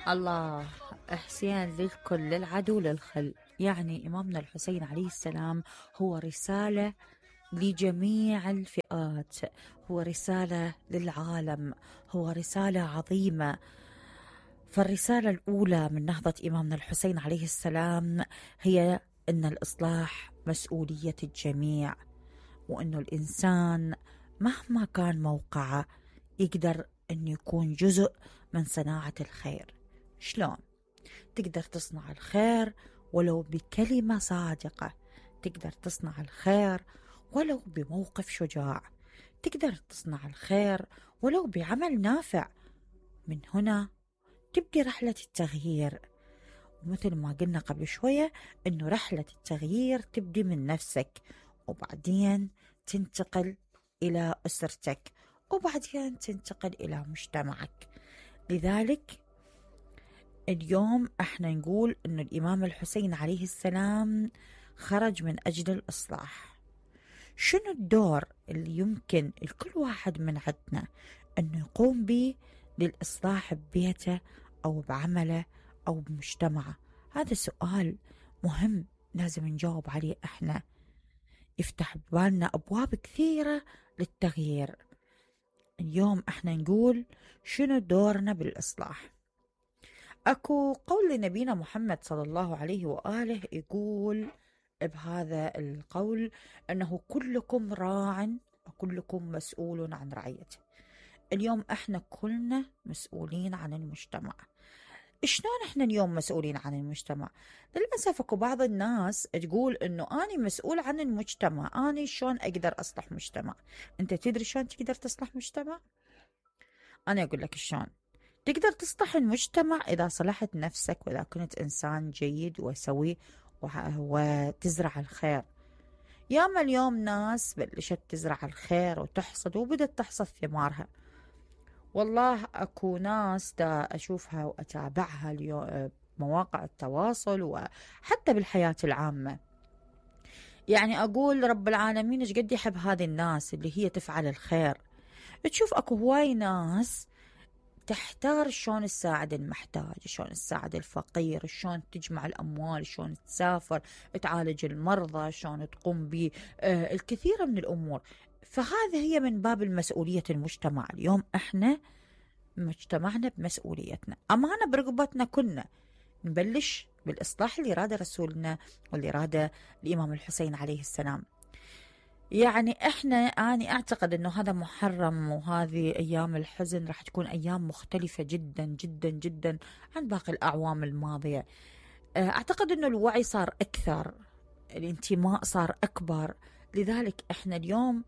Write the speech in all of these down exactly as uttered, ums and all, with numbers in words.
الله حسين للكل، للعدو للخل. يعني إمامنا الحسين عليه السلام هو رسالة لجميع الفئات، هو رسالة للعالم، هو رسالة عظيمة. فالرسالة الأولى من نهضة إمامنا الحسين عليه السلام هي أن الإصلاح مسؤولية الجميع، وأن الإنسان مهما كان موقعه يقدر أن يكون جزء من صناعة الخير. شلون؟ تقدر تصنع الخير ولو بكلمة صادقة، تقدر تصنع الخير ولو بموقف شجاع، تقدر تصنع الخير ولو بعمل نافع. من هنا تبدي رحلة التغيير، ومثل ما قلنا قبل شوية أنه رحلة التغيير تبدي من نفسك، وبعدين تنتقل إلى أسرتك، وبعدين تنتقل إلى مجتمعك. لذلك اليوم احنا نقول أن الإمام الحسين عليه السلام خرج من أجل الإصلاح. شنو الدور اللي يمكن الكل واحد من عندنا أنه يقوم به للإصلاح ببيته أو بعمله أو بمجتمعه؟ هذا سؤال مهم لازم نجاوب عليه احنا، يفتح بالنا أبواب كثيرة للتغيير. اليوم احنا نقول شنو دورنا بالإصلاح. أكو قول لنبينا محمد صلى الله عليه وآله يقول بهذا القول أنه كلكم راع وكلكم مسؤول عن رعيته. اليوم احنا كلنا مسؤولين عن المجتمع. شلون احنا اليوم مسؤولين عن المجتمع؟ للأسف اكو بعض الناس تقول انه أنا مسؤول عن المجتمع، أنا شلون اقدر اصلح مجتمع؟ انت تدري شلون تقدر تصلح مجتمع؟ انا اقول لك شلون تقدر تصلح المجتمع. اذا صلحت نفسك، واذا كنت انسان جيد وسوي وتزرع الخير. ياما اليوم ناس بلشت تزرع الخير وتحصد وبدت تحصد ثمارها. والله اكو ناس دا اشوفها واتابعها اليوم مواقع التواصل وحتى بالحياة العامة، يعني اقول رب العالمين ايش قد يحب هذه الناس اللي هي تفعل الخير. تشوف اكو هواي ناس تحتار شلون تساعد المحتاج، شلون تساعد الفقير، شلون تجمع الأموال، شلون تسافر تعالج المرضى، شلون تقوم بالكثير من الأمور. فهذا هي من باب المسؤولية المجتمع. اليوم احنا مجتمعنا بمسؤوليتنا، أمانة برقبتنا كلنا نبلش بالإصلاح اللي راده رسولنا واللي راده الإمام الحسين عليه السلام. يعني احنا أنا أعتقد أنه هذا محرم، وهذه أيام الحزن راح تكون أيام مختلفة جدا جدا جدا عن باقي الأعوام الماضية. أعتقد أنه الوعي صار أكثر، الانتماء صار أكبر. لذلك احنا اليوم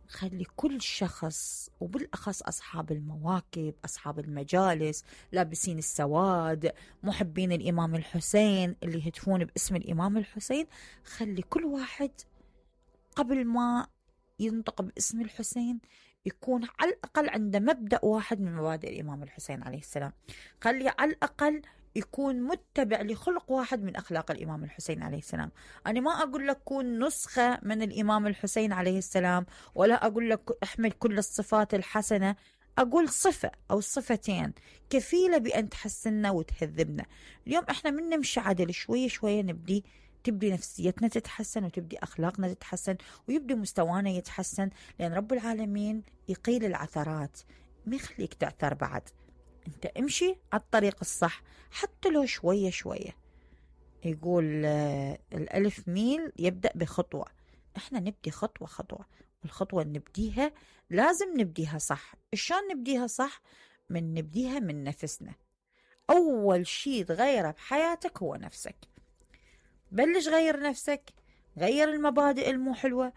خلي كل شخص، وبالأخص أصحاب المواكب، أصحاب المجالس، لابسين السواد، محبين الإمام الحسين اللي يهتفون باسم الإمام الحسين، خلي كل واحد قبل ما ينطق باسم الحسين يكون على الأقل عنده مبدأ واحد من مبادئ الإمام الحسين عليه السلام. خلي على الأقل يكون متبع لخلق واحد من أخلاق الإمام الحسين عليه السلام. أنا ما أقول لك كون نسخة من الإمام الحسين عليه السلام، ولا أقول لك احمل كل الصفات الحسنة، أقول صفة أو صفتين كفيلة بأن تحسننا وتهذبنا. اليوم إحنا من نمشي عدل شوية شوية نبدي تبدي نفسيتنا تتحسن، وتبدي أخلاقنا تتحسن، ويبدي مستوانا يتحسن، لأن رب العالمين يقيل العثرات، ما يخليك تعثر بعد. انت امشي على الطريق الصح حتى لو شوية شوية. يقول آه الألف ميل يبدأ بخطوة. احنا نبدي خطوة خطوة، والخطوة نبديها لازم نبديها صح. شلون نبديها صح؟ من نبديها من نفسنا. أول شيء تغيره بحياتك هو نفسك. بلش غير نفسك، غير المبادئ المو حلوة.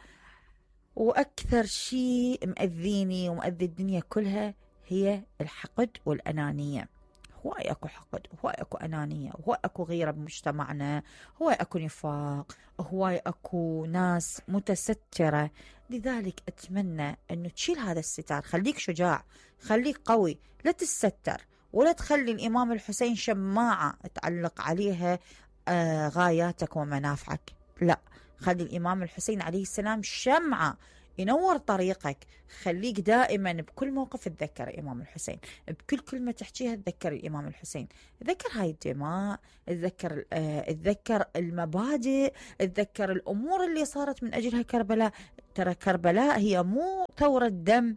وأكثر شيء مأذيني ومأذي الدنيا كلها هي الحقد والأنانية. هواي أكو حقد، هواي أكو أنانية، هواي أكو غيرة بمجتمعنا، هواي أكو نفاق، هواي أكو ناس متسترة. لذلك أتمنى أنه تشيل هذا الستار. خليك شجاع، خليك قوي، لا تستر، ولا تخلي الإمام الحسين شماعة تعلق عليها آه غاياتك ومنافعك. لا، خلي الإمام الحسين عليه السلام شمعة ينور طريقك. خليك دائما بكل موقف تذكر الإمام الحسين، بكل كلمة تحكيها تذكر الإمام الحسين، تذكر هاي الدماء، تذكر آه، تذكر المبادئ، تذكر الأمور اللي صارت من أجلها كربلاء. ترى كربلاء هي مو ثورة دم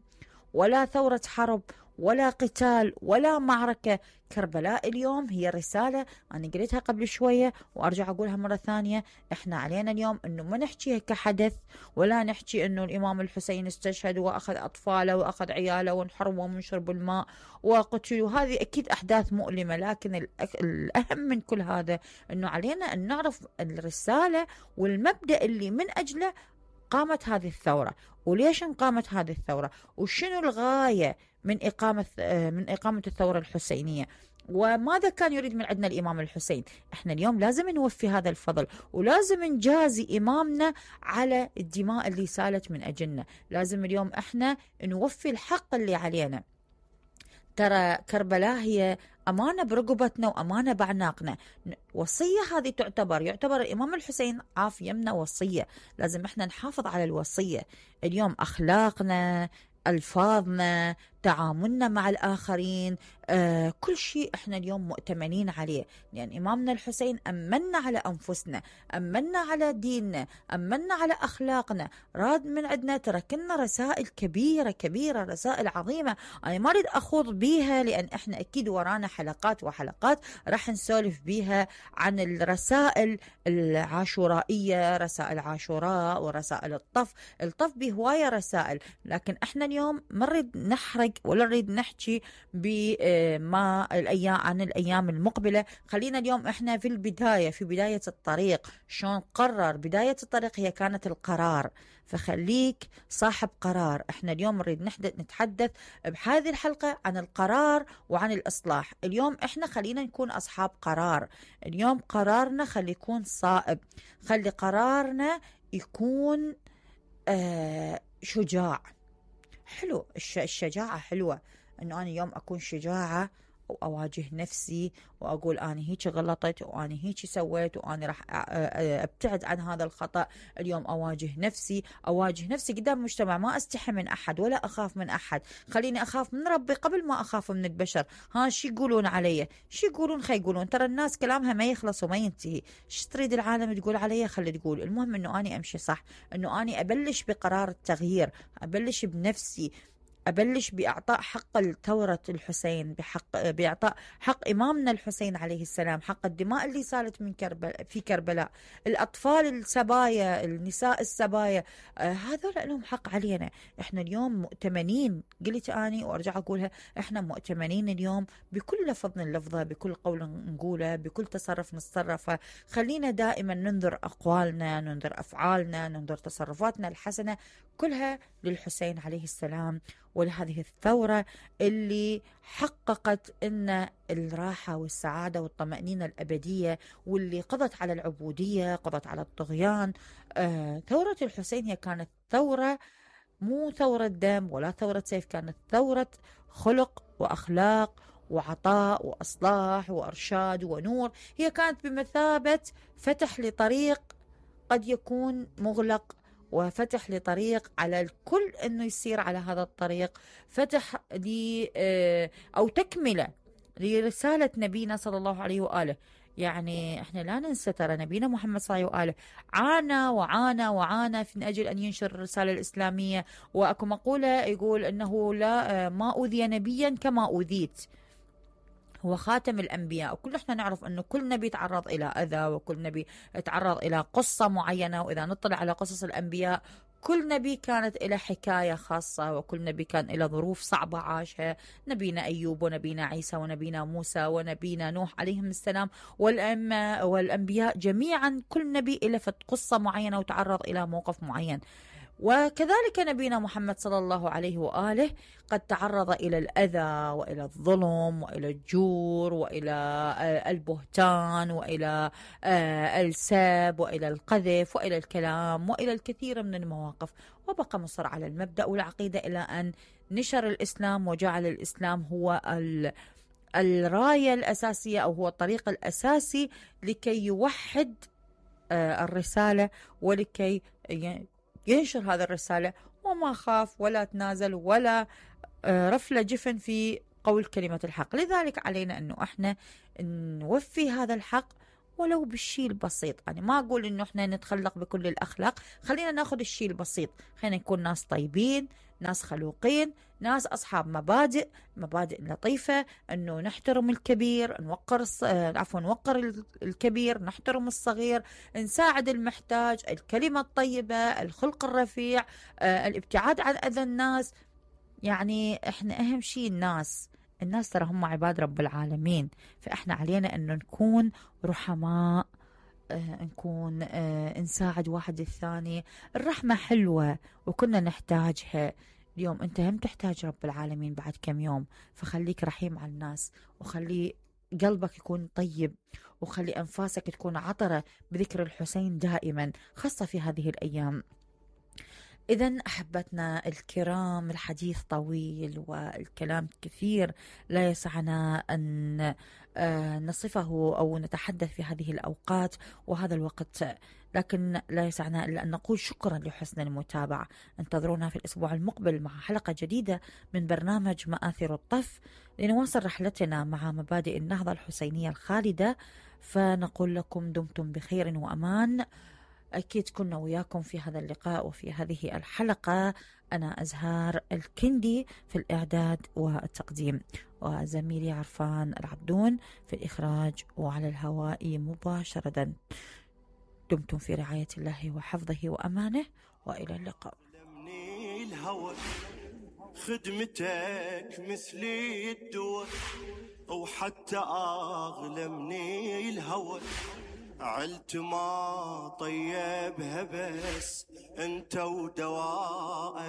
ولا ثورة حرب ولا قتال ولا معركة. كربلاء اليوم هي رسالة، أنا قلتها قبل شوية وأرجع أقولها مرة ثانية. إحنا علينا اليوم أنه ما نحكيها كحدث، ولا نحكي أنه الإمام الحسين استشهد وأخذ أطفاله وأخذ عياله وانحرموا من شرب الماء وقتلوا. هذه أكيد أحداث مؤلمة، لكن الأهم من كل هذا أنه علينا أن نعرف الرسالة والمبدأ اللي من أجله قامت هذه الثورة، وليش قامت هذه الثورة، وشنو الغاية من إقامة من إقامة الثورة الحسينية، وماذا كان يريد من عندنا الإمام الحسين. إحنا اليوم لازم نوفي هذا الفضل، ولازم نجازي إمامنا على الدماء اللي سالت من أجلنا. لازم اليوم إحنا نوفي الحق اللي علينا. ترى كربلاء هي أمانة برقبتنا وأمانة بعناقنا. وصية هذه تعتبر يعتبر الإمام الحسين عاف يمنا وصية، لازم إحنا نحافظ على الوصية. اليوم أخلاقنا، ألفاظنا، تعاملنا مع الآخرين، آه كل شيء إحنا اليوم مؤتمنين عليه، لأن يعني إمامنا الحسين أمنا على أنفسنا، أمنا على ديننا، أمنا على أخلاقنا، راد من عندنا تركنا رسائل كبيرة كبيرة، رسائل عظيمة. أنا ما أريد أخوض بيها لأن إحنا أكيد ورانا حلقات وحلقات راح نسولف بيها عن الرسائل العاشورائية، رسائل عاشوراء ورسائل الطف. الطف بهواية رسائل، لكن إحنا اليوم ما نريد نحرق ولا نريد نحكي بما الأيام عن الأيام المقبلة. خلينا اليوم إحنا في البداية، في بداية الطريق. شلون قرر بداية الطريق؟ هي كانت القرار، فخليك صاحب قرار. إحنا اليوم نريد نتحدث بهذه الحلقة عن القرار وعن الإصلاح. اليوم إحنا خلينا نكون أصحاب قرار. اليوم قرارنا خلي يكون صائب، خلي قرارنا يكون آه شجاع. حلو الشجاعة، حلوة انه انا اليوم اكون شجاعة واواجه نفسي واقول انا هيك غلطت وانا هيك سويت وانا راح ابتعد عن هذا الخطأ. اليوم اواجه نفسي، اواجه نفسي قدام المجتمع، ما استحي من احد ولا اخاف من احد. خليني اخاف من ربي قبل ما اخاف من البشر. ها شي يقولون علي، شي يقولون خي يقولون، ترى الناس كلامها ما يخلص وما ينتهي. ايش تريد العالم تقول علي؟ خلي تقول، المهم انه اني امشي صح، انه اني ابلش بقرار التغيير، ابلش بنفسي، أبلش بإعطاء حق الثورة الحسين، بحق بإعطاء حق إمامنا الحسين عليه السلام، حق الدماء اللي سالت من كربلاء في كربلاء، الأطفال السبايا، النساء السبايا، آه هذول لهم حق علينا. إحنا اليوم مؤتمنين، قلت أني وأرجع أقولها، إحنا مؤتمنين اليوم بكل لفظ نلفظه، بكل قول نقوله، بكل تصرف نتصرفه. خلينا دائما ننظر أقوالنا، ننظر أفعالنا، ننظر تصرفاتنا الحسنة كلها للحسين عليه السلام ولهذه الثورة اللي حققت إن الراحة والسعادة والطمأنينة الأبدية، واللي قضت على العبودية، قضت على الطغيان. آه ثورة الحسين هي كانت ثورة مو ثورة دم ولا ثورة سيف، كانت ثورة خلق وأخلاق وعطاء وإصلاح وإرشاد ونور. هي كانت بمثابة فتح لطريق قد يكون مغلق، وفتح لطريق على الكل أنه يسير على هذا الطريق، فتح لي أو تكملة لرسالة نبينا صلى الله عليه وآله. يعني احنا لا ننسى ترى نبينا محمد صلى الله عليه وآله عانى وعانى وعانى من أجل أن ينشر الرسالة الإسلامية. وأكو مقولة يقول أنه لا ما أوذي نبيا كما أوذيت، هو خاتم الأنبياء. وكل احنا نعرف أنه كل نبي تعرض إلى أذى، وكل نبي تعرض إلى قصة معينة. وإذا نطلع على قصص الأنبياء كل نبي كانت إلى حكاية خاصة، وكل نبي كان إلى ظروف صعبة عاشها. نبينا أيوب ونبينا عيسى ونبينا موسى ونبينا نوح عليهم السلام، والأئمة والأنبياء جميعا كل نبي إلى قصة معينة وتعرض إلى موقف معين. وكذلك نبينا محمد صلى الله عليه وآله قد تعرض إلى الأذى وإلى الظلم وإلى الجور وإلى البهتان وإلى السب وإلى القذف وإلى الكلام وإلى الكثير من المواقف، وبقى مصر على المبدأ والعقيدة إلى أن نشر الإسلام وجعل الإسلام هو الراية الأساسية أو هو الطريق الأساسي لكي يوحد الرسالة ولكي ينشر هذا الرسالة. وما خاف ولا تنازل ولا رفل جفن في قول كلمة الحق. لذلك علينا أنه احنا نوفي هذا الحق ولو بالشيء البسيط. يعني ما أقول إنه إحنا نتخلق بكل الأخلاق، خلينا ناخذ الشيء البسيط، خلينا نكون ناس طيبين، ناس خلوقين، ناس أصحاب مبادئ مبادئ لطيفة، إنه نحترم الكبير، نوقر الص... عفوا نوقر الكبير، نحترم الصغير، نساعد المحتاج، الكلمة الطيبة، الخلق الرفيع، آه، الابتعاد عن أذى الناس. يعني إحنا أهم شيء الناس الناس ترى هم عباد رب العالمين، فإحنا علينا أنه نكون رحماء، آه نكون آه نساعد واحد الثاني. الرحمة حلوة وكنا نحتاجها. اليوم أنت هم تحتاج رب العالمين بعد كم يوم، فخليك رحيم على الناس، وخلي قلبك يكون طيب، وخلي أنفاسك تكون عطرة بذكر الحسين دائما، خاصة في هذه الأيام. إذن أحبتنا الكرام، الحديث طويل والكلام كثير، لا يسعنا أن نصفه أو نتحدث في هذه الأوقات وهذا الوقت، لكن لا يسعنا إلا أن نقول شكرا لحسن المتابعة. انتظرونا في الأسبوع المقبل مع حلقة جديدة من برنامج مآثر الطف، لنواصل رحلتنا مع مبادئ النهضة الحسينية الخالدة. فنقول لكم دمتم بخير وأمان. أكيد كنا وياكم في هذا اللقاء وفي هذه الحلقة. أنا أزهار الكندي في الإعداد والتقديم، وزميلي عرفان العبدون في الإخراج وعلى الهواء مباشرة. دمتم في رعاية الله وحفظه وأمانه، وإلى اللقاء. خدمتك مثل الدواء وحتى أغلى من الهوى، عيلت ما طيبها بس انت ودواء.